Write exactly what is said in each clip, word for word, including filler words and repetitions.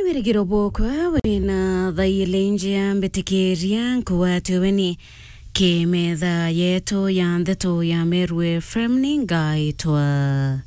Wirigiro bwokwa wina thairi njia, mbitikiria nkugwate ugeni ki metha yetu ya ndeto ya Meru F M. Ni ngaitwa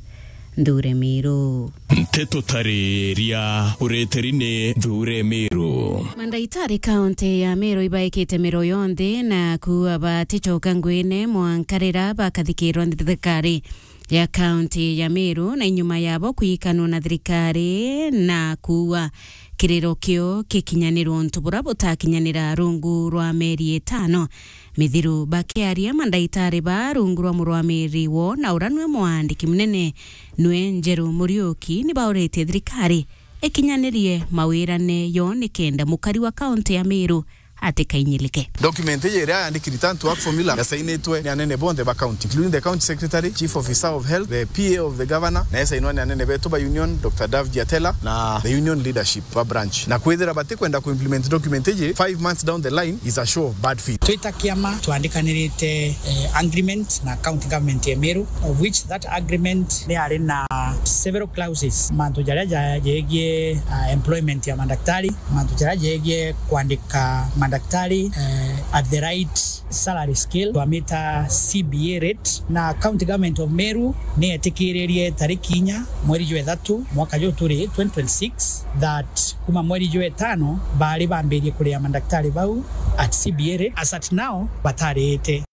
Nthure Miru. Nteto tariria ureteri ni Nthure Miru. Mandaitari kaunti ya Meru ibaikite miro yonthe na kuuga baticoka ngwine mwanka riria bakathikirwa ni thirikari ya kaunti ya Meru, na inyuma yabo kwikanwa na thirikari na kuuga kiriro kio gikinyanirwa untu bura butakinyanira rungu rwa mieri itano mithiru. Bakiaria, mandaitari ba rungu rwa murwamiri wo na uria nwe mwandiki munene nwe Njeru Muriuki, ni bauritie thirikari ikinyanirie mawirane yo nikenda mukari wa kaunti ya Meru atikainyilike. Document iji iria yandiki return to work formula yasainitwe ni anene bonthe ba county, including the county secretary, chief officer of health, the P A of the governor, na yasainwa ni anene betu ba union, Doctor Dave Giatela, na the union leadership ba branch. Na kwithira batikwenda ku implement document iji five months down the line is a show of bad faith. Twita kiama twandikanirite, eh, agreement na county government ya Meru, of which that agreement ni yari na several clauses, mantu jaria ja-, jegie, ah, employment ya mandaktari, mantu jaria jegie kwandika mandaktari, eh, at the right salary scale, twamita C B A rate, na county government of Meru ni yetikiririe tariki inya mweri jwa ithatu mwaka juu turi twenty twenty-six that kuma mweri jwa itano bari bambirie kuria mandaktari bau at C B A rate. As at now, batariite.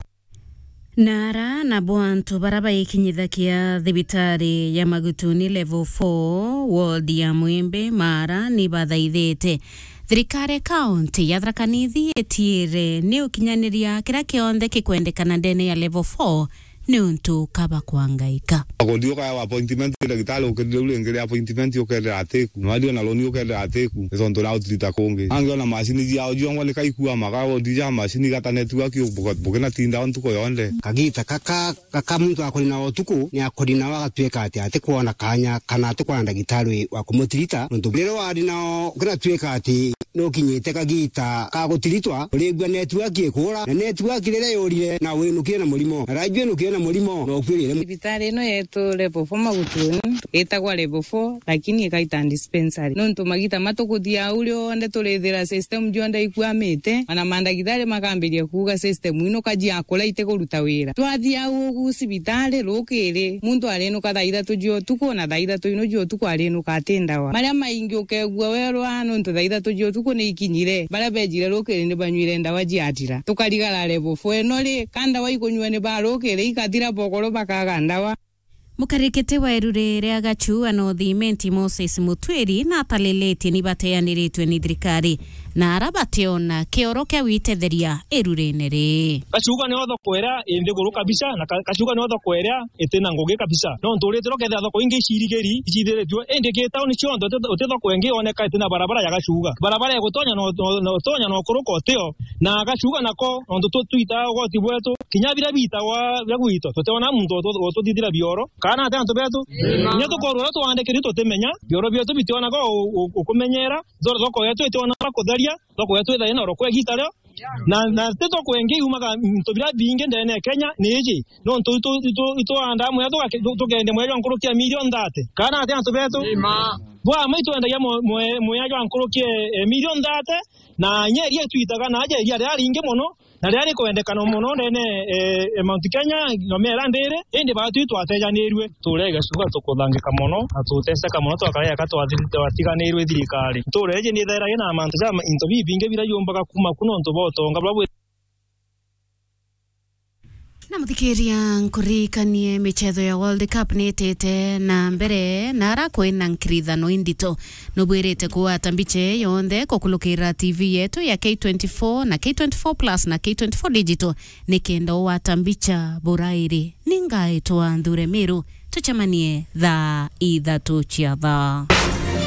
Na ara nabo antu bara baikinyithagia thibitari ya Magutuni level four, ward ya Mwimbi, Maara, ni bathaithite thirikari kaunti ya Tharaka Nithi itiire ni ukinyaniria kiria kionthe kikwendekana ndene ya level four niuntu kaba kwangaika. Akondi ukaewa appointment, ndagitari ukirire u ringi ria appointment ukerira atiku, na wario na roni ukerira atiku, ni tontu ria utirita kungi. Angi ona macini ciao ciongwa ni kaikua maka, wondi ja macini igata network, buke-, bukinatinda o ntuku yonthe. Kagita kaka, kaka muntu akori na utuku, ni akori nao agatuika ati atikwona kanya kana atikwona ndagitari wa kumutirita, nontu riria wari nao ukinatuika ati nukinyite kagita ka gutiritwa, urigua network ikura, na network riria yurire na winukire na murimo, na raju winukire na murimo, na ukuirire. Thibitari ino yetu level four Magutuni, itagwa level four, lakini ikaita dispensary. Nontu magita matukuthia au rionthe turithira system jonthe ikwamite, ona mandagitari makambiria kuuga system ino kaji akura itikuruta wira. Twathia au ugu cibitari rukiri, muntu arinuka thaa ithatu cia utuku, na thaa ithatu ino cia utuku arinuka ati ndawa. Maria maingi ukegua werwa nontu thaa ithatu cia utuku ni ikinyire, baria bejire rukiri ni banyuire ndawa ciathira. Tukarigara level four ino ri, ka ndawa ikunyua ni ba rukiri ikathira, bokoro bakaga ndawa. Mukarikiti wa iruri ria Gachua North Imenti Moses Mutwiri natalilitie ni bateaniritwe ni thirikari na ara bationa kioro kia gwitetheria irurine ri. Gachuga nio thoko iria i nthiguru kabisa, na ka-, Gachuga nio thoko iria itina ngugi kabisa. Nontu uritirwo kethira thoko ingi icirigiri, icithiritue, indi ki tauni cionthe uti, uti thoko ingi yoneka itina barabara ya Gachuga. Barabara igutonya no, no, no, utonya no kuruka utio, na Gachuga nako, nontu tu-, twita ugoti bwetu, kinya biria bitagwa bia gwito, tutiona muntu utu-, ututhithira bioro, kana ati antu betu. Amen. Kinya tukorwa uria twandikiri tutimenya, bioro bietu bitionaga u-, u-, ukumenyera, thoko yetu itionaga kutheria, thoko yetu ithaina oro kwa igita rio. Na, na ti thoko ingi yumaga into biria bingi ndene ya Kenya ni iji. Nontu itu, itu, itwandaa muya tugake-, tu-, tukendia muya jwa nkuruki ya milioni thate. Kana ati antu betu? Ima. Bwa ma itwendagia mu-, mu-, muya jwa nkuruki, eh, milioni thate, na inya iria itwitaga na aja iria riria ringi mono, na riria rikwendekana mono ndene, eh, eh, Mount Kenya, na mera ndiri, indi baatwi twatejanirue. Turia igacuga tukuthangika mono, na tuteseka mono, twakara eka twathi-, twatiganirwe thirikari. Ntuura iji ni ithaira ina mantu ja ma-, into bibingi biria yumbaga kuuma ku nontu bwa utonga buria bwi. Na muthikiria, nkuririkanie michetho ya World Cup ni itite na mbere, na ara kwina nkirithano indito. Nubwirite kugwata mbicha ii yonthe kukulukira T V yetu ya K twenty-four na K twenty-four Plus na K twenty-four Digital, nikenda ugwata mbicha burairi. Ni ngaitwa Nthure Miru, tucemanie thaa ithatu cia thaa.